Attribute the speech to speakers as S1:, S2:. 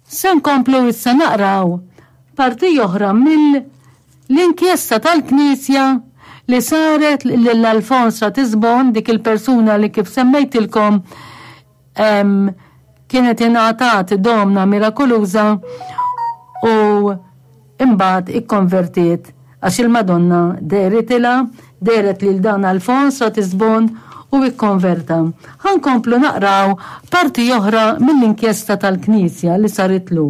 S1: Se nkomplu issa naqraw parti oħra mill-inkjesta tal-Knisja li saret lil Alfons Ratisbon, dik il-persuna li kif semmejtilkom kienet ingħatat domna mirakoluża u imbagħad ikkonvertiet għax il-Madonna dehritilha, dehret lil dan Alfons Ratisbon u ikkonverta. Ħa nkomplu naqraw parti oħra mill-inkjesta tal-Knisja li saritlu.